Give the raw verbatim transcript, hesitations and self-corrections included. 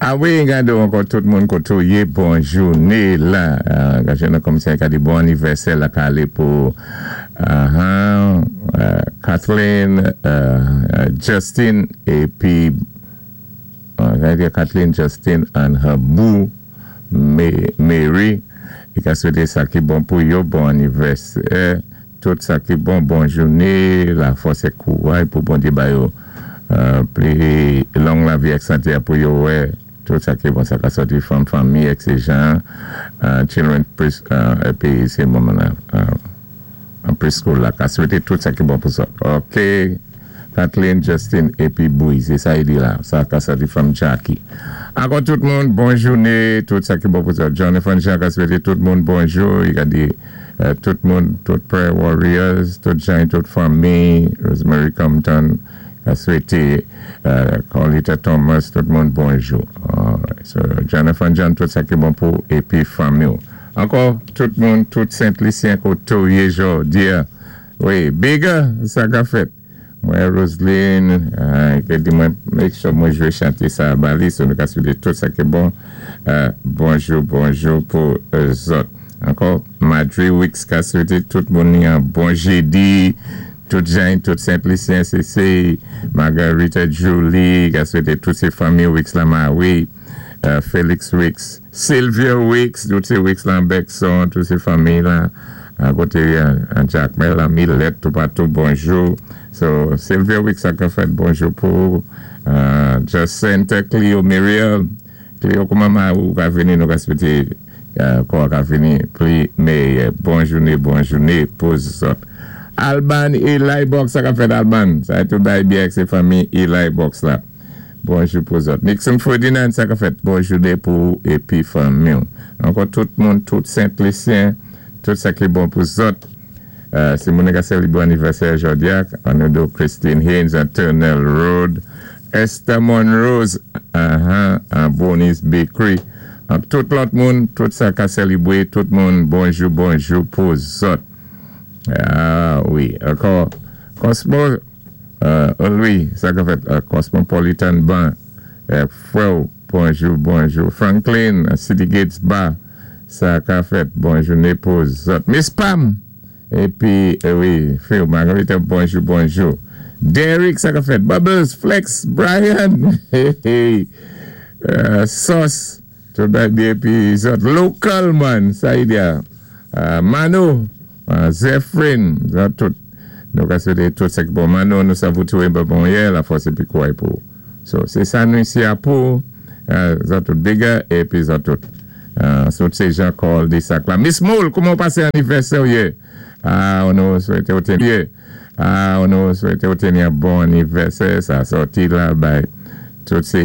A wi, gado ankò tout moun koté ou yé, bon jouné la. Gajé nan komisè ka di bon anivèsè la ka alé pou uh, Kathleen, uh, Justin, épi uh, Kathleen, Justin and her boo, Mary. I ka swété sa ki bon pou yo, bon anivèsè, tout sa ki bon, bon jouné, la fòs é kouway pou Bondyé ba yo pli long lavi ak santé pou yo wè, tout sa ki bon, sa ka sòti fanm, fanmi, ek sé jan, children, épi sé moman an preschool la, ka swété tout sa ki bon pou zòt. Ok, Kathleen, Justin, épi Boui, sé sa i di la, sa ka sòti fanm Jackie. Ankò tout moun, bon jouné, tout sa ki bon pou zòt. Jonathan Jean ka swété tout moun bonjou, i ka di tout moun, tout prayer warriors, tout jan, tout fanmi, Rosemary Compton, ka swété Carlita Thomas, tout moun bonjou. So, Jonathan Jean, tout sa ki bon pou épi fanmi. Ankò, tout moun, tout Sent-Lisyen koté ou yé jòdi. Wi, Bigger, sa ka fèt. Mwen Roseline, ki di mwen make sure mwen jwé chanté sa ba li, so nou ka swété tout sa ki bon. Bonjou, bonjou pou zòt. Ankò, Madri Wicks ka swété tout moun ni an bon jédi, tout jan, tout Sent-Lisyen, sé sé, Margarita Julie, ka swété tout sé fanmi Wicks la ma wi, Felix Wicks, Sylvia Wicks, tout sé Wicks la Bekson, tout sé fanmi la, akoté an Jacmel, la Millet, tout patou, bonjou. So, Sylvia Wicks a ka fèt bonjou pou Jacinta, Cleo, Muriel, Cleo kouman ou ka vini, nou ka swété kwa ka vini, pli meyè, bon jouné, bon jouné pou zòt. Alban Eli Box, sa ka fèt Alban, sa é tout bay byen sé fanmi Eli Box la. Bonjou pou zòt. Nixon Ferdinand, sa ka fèt bon jouné pou épi fanmi. Ankò tout moun, tout Sent-Lisyen, tout sa ki bon pou zòt. Si moun ka sélibwé anivèsè jòdi a, an nou Christine Haynes an Turnell Road, Esther Monrose an Bonnie's Bakery. Tout lòt moun, tout sa ka sélibwé, tout moun, bonjou, bonjou pou zòt. Ah wi, ankò, Cosmo, Louis, sa ka fèt, Cosmopolitan Bank, Frè, bonjou, bonjou. Franklin, City Gates Bar, sa ka fèt, bonjou, pou zòt. Miss Pam, épi, wi, Phil, Margarita, bonjou, bonjou. Derek, sa ka fèt, Bubbles, Flex, Brian, hey, hey, Sauce, tout bagay épi zòt. Local man, sa i di a. Mano, Zephyrin, zòt tout. Nou ka swété tout sa ki bon. Mano, nou sa vou toué bon yè, la fòs épi kouway pou. So, sé sa nou isi a pou, zòt tout bigger, épi zòt tout. Sot sé Jean Col di sak la. Miss Moule, kouman pasé anivèsè ou yè? Ah, nou swété ou téni yè. Ah, nou swété ou téni bon anivèsè, sa sòti la bay. Tout sé